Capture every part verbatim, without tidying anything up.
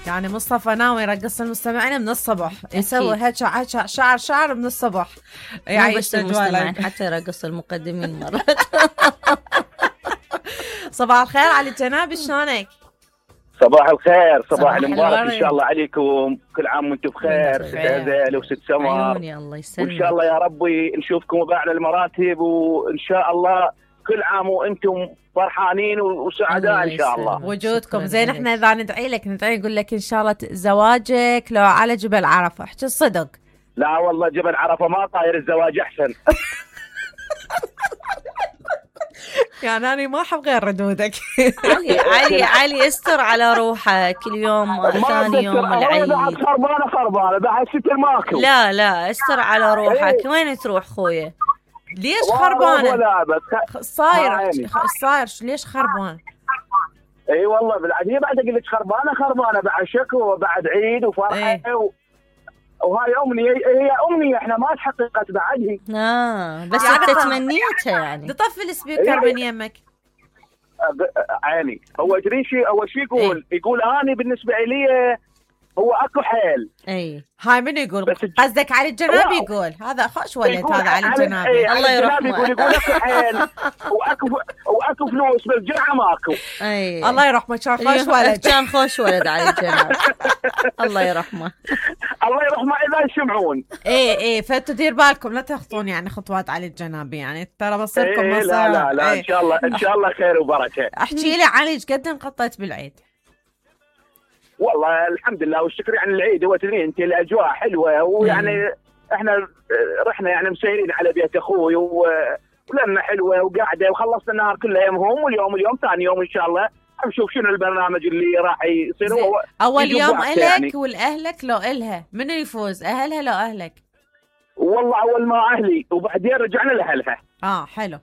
يعني مصطفى ناوي يرقص المستمعين من الصبح، يسوي هيك شعر شعر من الصبح، يعني بس المستمعين حتى يرقص المقدمين مرات. صباح الخير علي الجنابي، شلونك؟ صباح الخير، صباح المبارك ان شاء الله عليكم، كل عام وانتم بخير. ست هذيل وست سمر، الله يسلمك، وان شاء الله يا ربي نشوفكم باعلى المراتب، وان شاء الله كل عام وانتم فرحانين وسعداء ان شاء الله. وجودكم زين. احنا اذا ندعي لك ندعي نقول لك ان شاء الله زواجك لو على جبل عرفه، احكي الصدق. لا والله جبل عرفه ما طاير، الزواج احسن. يعني أنا ما أحب غير ردودك. علي علي علي استر على روحه كل يوم ثاني يوم العيد. بعد خربانة خربانة بعد ستر ماكو. لا لا استر على روحك. وين تروح خويا؟ ليش خربانة؟ صاير صاير ليش خربان؟ اي والله بالعادية بعد قلت خربانة خربانة بعد شكوى وبعد عيد وفرحة ايه. و... وهاي أمنية، هي أمنية احنا ما تحققت بعدها. اه بس يعني انت تمنيتها يعني. تطفي السبيكر من يمك. عيني هو تدري شيء اول شيء يقول ايه؟ يقول اني بالنسبة لي هو اكو حيل. اي هاي من يقول؟ قصدك علي الجنابي يقول؟ هذا خوش ولد هذا علي الجنابي. ايه الله يرحمه. يقول يقول اكو حيل واكو واكو فلوس بس جرعه ماكو. اي الله يرحمه، كان خوش ولد. كان خوش ولد علي الجنابي. الله يرحمه. الله يرحمه اذا يسمعون. ايه ايه فانتوا دير بالكم لا تخطون يعني خطوات علي الجنابي، يعني ترى بصيركم ايه مصير. لا لا لا ايه. ان شاء الله ان شاء الله خير وبركه. احكي لي علي ايش قد انقطيت بالعيد؟ والله الحمد لله والشكر. يعني العيد هو تدري انت الاجواء حلوه، ويعني احنا رحنا يعني مسيرين على بيت اخوي ولما حلوه وقاعده وخلصنا النهار كله يومهم، واليوم اليوم ثاني يوم ان شاء الله نشوف شنو البرنامج اللي راح يصير. هو اول يوم الك يعني. والاهلك لو الها منو يفوز، اهلها لو اهلك؟ والله اول ما اهلي وبعدين رجعنا لاهلها. اه حلو.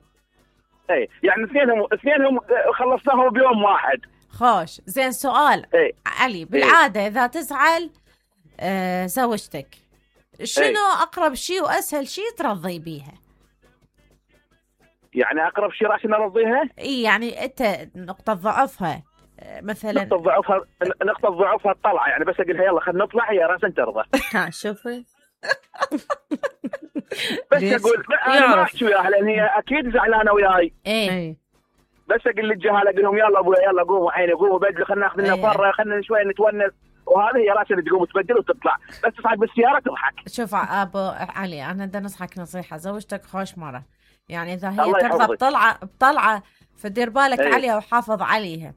اي يعني اثنينهم اثنينهم خلصناهم بيوم واحد. خوش زين. سؤال ايه؟ علي بالعادة ايه؟ إذا تزعل آه زوجتك شنو ايه؟ أقرب شيء وأسهل شيء ترضي بيها؟ يعني أقرب شيء راح نرضيها؟ إيه يعني أنت نقطة ضعفها آه مثلا. نقطة ضعفها نقطة ضعفها الطلعة، يعني بس أقولها يلا خلينا نطلع هي راسا ترضى. ها شوفي. بس أقول أنا ما أحكي وياها لأن هي أكيد زعلانة وياي. إيه بس اقول للجهال اقول لهم يلا ابويا يلا قوموا عيني قوموا بدلوا خلينا ناخذ لنا فره خلينا شوي نتونس، وهذه هي راسها تقوم تبدل وتطلع بس تصعد بالسياره تضحك. شوف ابو علي انا بدي نصحك نصيحه، زوجتك خوش مره يعني اذا هي ترضى بطلعه بطلعه فدير بالك ايه. عليها وحافظ عليها.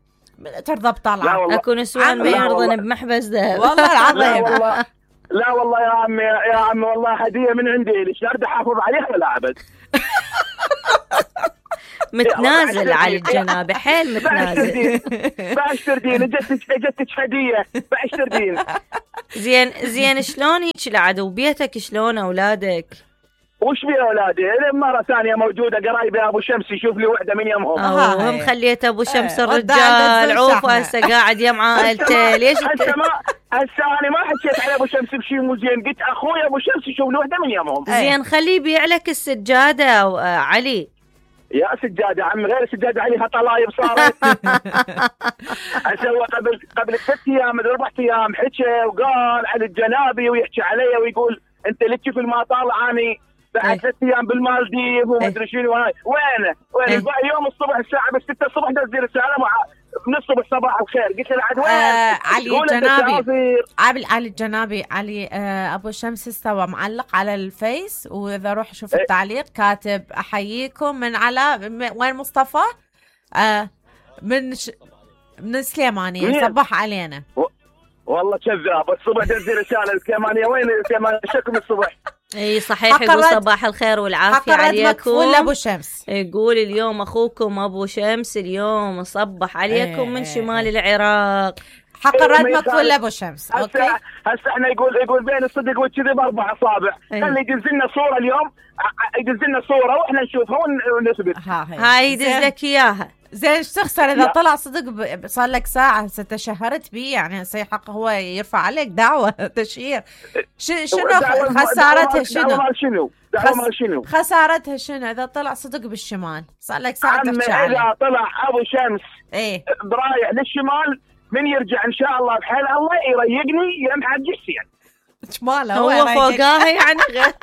ترضى بطلعه اكو نسوان ما يرضون بمحبس ذهب والله العظيم. لا والله لا والله يا عمي يا عمي والله هديه من عندي ليش ارد احافظ عليها ولا ابد. متنازل على الجنابي حيل متنازل. باشتر دين اجتك اجتك هديه باشتر دين. زين زين شلون هيك العدو بيتك شلون اولادك؟ وش بي اولادي؟ مره ثانيه موجوده قرايبي ابو شمس يشوف لي وحده من يمهم. اه هم خليت ابو شمس الرجال عوفه هسه قاعد يم عائلته. ليش هسه ما هسه انا ما حكيت على ابو شمس بشيء مو زين، قلت اخوي ابو شمس يشوف لي وحده من يمهم. زين خليه يبيع لك السجاده علي. يا سجادة عم غير سجادة عليها طلايب صارت. أسوى قبل قبل ست أيام أربع أيام حكى وقال على الجنابي ويحكي علي ويقول أنت اللي تشوف ما طالع أني بعد ست أيام بالمالديف وما أدري شنو هاي وينه وين يوم الصبح الساعة بس ستة الصبح نزل رسالة مع من الصبح صباح الخير قلت له عاد وين؟ آه علي الجنابي علي علي الجنابي علي آه ابو شمس استوى معلق على الفيس، واذا روح شوف ايه؟ التعليق كاتب احييكم من على وين مصطفى؟ آه من ش... من السليمانية صبح علينا. و... والله كذاب الصبح نزل رسالة السليمانية وين السليمانية شكم الصبح. اي صحيح يقول صباح الخير والعافية عليكم. ولا ابو شمس يقول اليوم اخوكم ابو شمس اليوم صبح عليكم ايه من شمال العراق. حق الرد مكفول لابو شمس. اوكي هسه احنا يقول يقول بين الصدق والكذب اربع اصابع. خلي يدز لنا صورة اليوم يدز لنا صورة واحنا نشوفها ونثبت. هاي يدز لك اياها. زين ايش تخسر اذا طلع صدق صار لك ساعه هسه تشهرت بيه يعني هسه حق هو يرفع عليك دعوه تشهير. شنو خسارتها شنو؟ شنو دعوه شنو خسارتها شنو اذا طلع صدق بالشمال صار لك ساعه تحكي عليه. اذا طلع ابو شمس ايه برايح للشمال من يرجع ان شاء الله بحال الله يريقني يم حق السين. ماله هو, هو فوقاها يعني غير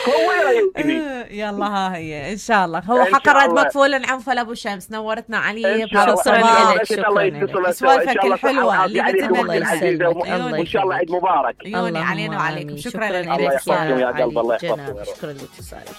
هو يريقني. يلا ها هي ان شاء الله. هو حق رد مكفول عنفل ابو شمس. نورتنا علي شكرا لك. شكرا سوالفك الحلوه اللي الله يسلمك. وان شاء الله عيد مبارك. عيوني علينا وعليكم. شكرا لك الله يحفظكم يا قلب. الله يحفظكم. شكرا لاتصالك.